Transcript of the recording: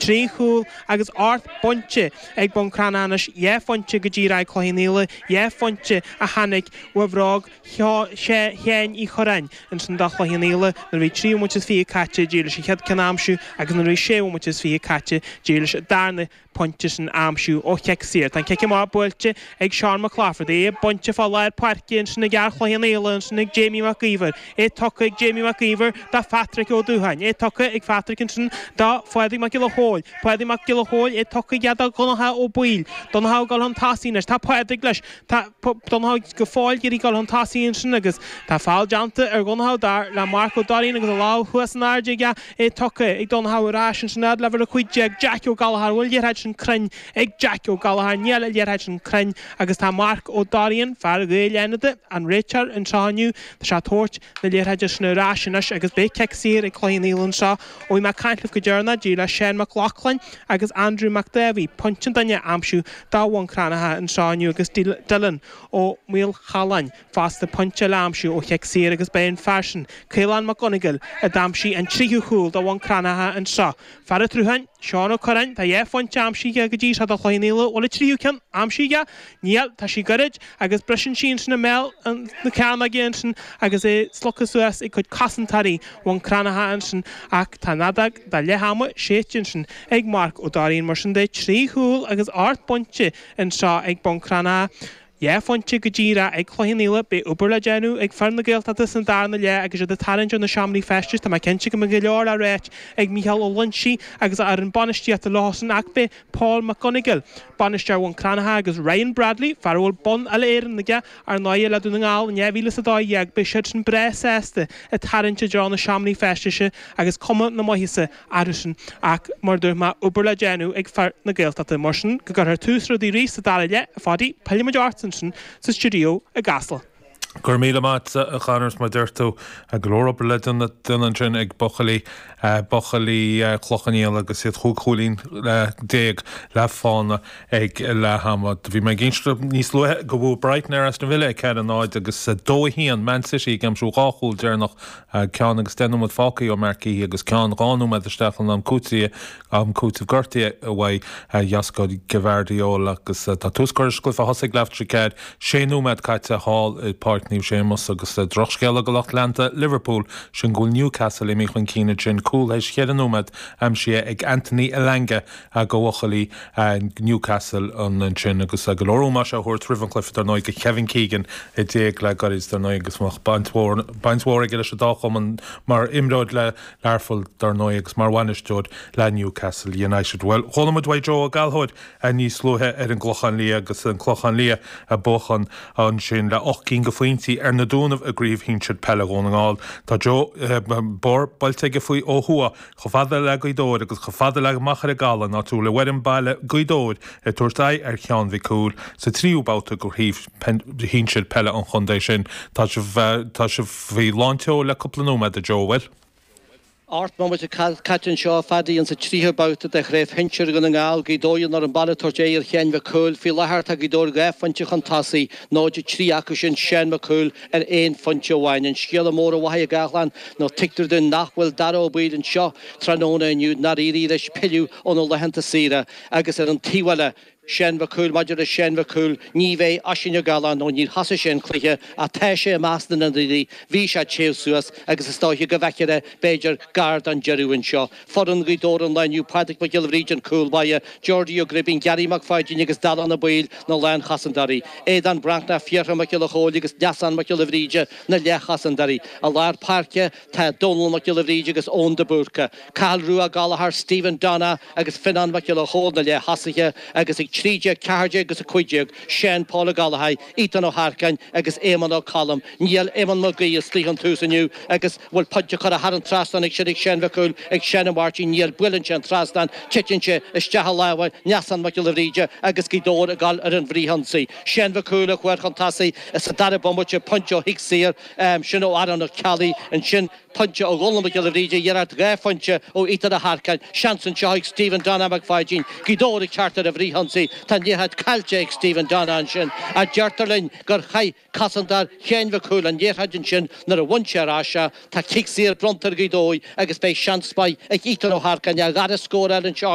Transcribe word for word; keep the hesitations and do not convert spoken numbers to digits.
Trí chúl agus ocht bpointe ag Bun Cranncha anois, dhá phointe go díreach ag Cloich Cheann Fhaola, dhá phointe a tháinig ó bhróg Sheáin Uí Churráin ansin do Chloich Cheann Fhaola nuair a bhí trí bhomaite is fiche caite d'éirigh leis an chéad ceann a aimsiú agus nuair a bhí sé bhomaite is fiche caite d'éirigh leis an darna pointe sin a aimsiú ó chic saor. Tá an cic amach buailte ag Seán Mac Laifeartaigh, é bainte fá lár páirce ansin ag fhear Chloich Cheann Fhaola ansin ag Jamie Mac Íomhair, é tugtha ag Jamie Mac Íomhair do Phatrick Ó Dúcháin, é tugtha ag Phatrick ansin do Phádraig Mac Giolla Chóill, Pádraig Mac Giolla Chóill, é tugtha aige do Dhonncha Ó Baoill, Donncha ag dul chun tosaigh anois, tá Pádraig leis, tá Donncha go fóill ag iarraidh dul chun tosaigh ansin agus tá feall déanta ar Dhonncha dar le Marc Ó Dairín agus a lámh thuas in airde aige, é tugtha ag Donncha ar ais ansin fhad le uimhir a cúig déag, Jack Ó Gallchóir, bhfuil liathróid sin cruinn ag Jack Ó Gallchóir, níl an liathróid sin cruinn agus tá Marc Ó Dairín, fear Ghaeil Fhánada, an réiteoir anseo inniu, tá sé ag tabhairt na liathróide sin ar ais anois agus beidh cic saor ag Cloich Cheann Fhaola anseo. Ó bhí mé ag caint libh go deireanach, d'éirigh le Seán Mac Lochlainn agus Andrew Mac Dáibhí pointe an duine a aimsiú do Bhun Cranncha anseo inniu agus Dylan Ó Maolchalláin fosta pointe eile a aimsiú ó chic saor agus beidh an fear sin, Caolán Mac Conagail, a d'aimsigh an tríú cúl do Bhun Cranncha anseo. Fear an tSrutháin, Seán Ó Curráin, tá dhá phointe aimsithe aige go dtí seo do Chloich Cheann Fhaola, bhfuil an tríú ceann aimsithe aige? Níl, tá sí gairid agus briseann sí ansin i mbéal na cearnóige ansin agus é slogtha suas ag cuid cosantóirí Bhun Cranncha ansin ach tá an fheadóg do leath ama séidte ansin ag Marc Ó Dairín. Mar sin de, trí chúl agus ocht bpointe anseo ag Bun Cranncha. Dhá phointe go díreach ag Cloich Cheann Fhaola. Beidh obair le déanamh ag fir na Gaeltachta san darna leath agus iad ag tarraingt ó na seomraí feistis. Tá mé cinnte go mbeidh go leor le ráit ag Mícheál Ó Loinsigh agus a fhoireann bainistíochta leosan ach beidh Paul McGonigle, bainisteoir Bhun Cranncha agus Ryan Bradley, fear a bhfuil bonn Uile-Éireann aige ar ndóigh le Dún na nGall in dhá mhíle is a dó dhéag, beidh siadsan breá sásta ag tarraingt i dtreo na seomraí feistis agus cuma na maitheasa orthusan ach mar a dúirt mé, obair le déanamh ag fir na Gaeltachta. Mar sin, go gcuirfear tús rudaí arís sa dara leath, a Pháidí, pillfidh muid ort ansin sa stiúideo i gCasla. Go raibh míle maith a Chonor, mar deir tú, go leor obair le déanamh ansin ag buachaillí buachaillí Chloich Cheann Fhaola agus iad chúig chúilín déag le fána ag leath ama. Bhí mé ag inse níos luaithe go bhfuair Brighton ar Aston Villa ag ceathair a náid agus dó a haon Man City ag aimsiú dhá chúl deireanach ceann agus deich nóiméad fágtha ó Marc Guéhi agus ceann dhá nóiméad isteach in am cúitimh am cúitimh gortaithe uaidh Josko Gvardiol agus tá tús curtha leis an gcluiche thosaigh leath tar éis a ceathair sé nóiméad caite thall i Páirc Naomh Séamus agus drochscéala do lucht leanta Liverpool sin go bhfuil Newcastle imithe chun cinn ansin cúl théis cheithre nóiméad aimsithe ag Anthony Elanga do bhuachaillí Newcastle ansin agus go leor ómóis á thabhairt roimh an chluiche dar ndóigh do Kevin Keegan a d'éag le gairid dar ndóigh agus baint mhór baint mhór aige leis an dá chumann mar imreoir le Learpholl dar ndóigh agus mar bhainisteoir le Newcastle United. Well chuala muid uaidh Joe Ó Gallchóir níos luaithe ar an gClochán Liath agus an Clochán Liath a buachan ansin le ocht gcinn de phointí ar na Dúnaibh i gcraobh shinsir peile Dhún na nGall. Tá Joe bóthar buailte aige faoi ó thuaidh chomh fada le Gaoth Dobhair agus chomh fada le Machaire Gabhla áit a bhfuil an fhoireann baile Gaoth Dobhair ag tabhairt aghaidh ar Cheann Mhic Cumhaill sa tríú babhta de chraobh shinsir peile an chontae sin. Tá sibh tá sibh faoi lán tseoil le cúpla nóiméad a Joe bhfuil. Ocht mbomaite caite anseo Phaddy insa tríú babhta de chraobh shinsir Dhún na nGall, Gaoth Dobhair ar an baile ag tabhairt aghaidh ar Cheann Mhic Cumhaill. Faoi láthair tá Gaoth Dobhair dhá phointe chun tosaigh, náid trí acu sin Seán Mac Cumhaill ar aon phointe amháin. An scéala mór a Mhachaire Gathlán nó tuigtear dúinn nach bhfuil Dara Ó Baoill anseo tráthnóna inniu nár éirigh leis pilleadh óna laethanta saoire agus ar an taobh eile Seán Mac Cumhaill maidir le Seán Mac Cumhaill ní bheidh Oisín Ó Gealán nó níor thosaigh sé an cluiche ach tá sé i measc na n-ionadaí bhí sé téamh suas agus is dóiche go bhfeicfear é b'fhéidir gar don deireadh anseo. Foireann Ghaoth Dobhair an lá inniu Pádraig Mac Giolla Bhríde an cúl báire, Georgie Ó Gribín, Gary Mac Pháidín agus Dalán Ó Baoill na lánchosantóirí. Aodán Breathnach, Fiachra Mac Giolla Chóill agus Neasán Mac Giolla Bhríde na leathchosantóirí. I lár páirce tá Dónal Mac Giolla Bhríde agus Eoin de Búrca. Cathal Rua Gallchóir, Stephen Donna agus Fionnán Mac Giolla Chóill na leath-thosaithe agus ag trí déag, ceathair déag agus a cúig déag, Seán Paul Ó Gallchóir, Ethan Ó hEarcáin agus Éamonn Ó Colm. Níl Éamonn Mac Aoidh istigh ón tús inniu agus bhfuil pointe curtha thar an trasnán ag sin ag Seán Mhic Cumhaill ag Seán Ó Máirtín níl buaileann sé an trasnán, titeann sé isteach i lámha Neasán Mac Giolla Bhríde agus Gaoth Dobhair ag dul ar an bhfrithionsaí. Seán Mhic Cumhaill a chuir chun tosaigh sa dara bomaite pointe ó chic saor sin ó Aaron Ó Ceallaigh ansin pointe ó Dhónal Mac Giolla Bhríde iarracht dhá phointe ó Ethan Ó hEarcáin, seans anseo ag Stephen Donna Mac Pháidín, Gaoth Dobhair ag teacht ar an bhfrithionsaí, tá an liathróid caillte ag Stephen Donna ansin a deirtear linn gur chaith cosantóir Sheáin Mhic Cumhaill an liathróid ansin nuair a bhain sé ar ais é, tá cic saor bronnta ar Ghaoth Dobhair agus beidh seans maith ag Ethan Ó hEarcáin a dhara scór eile anseo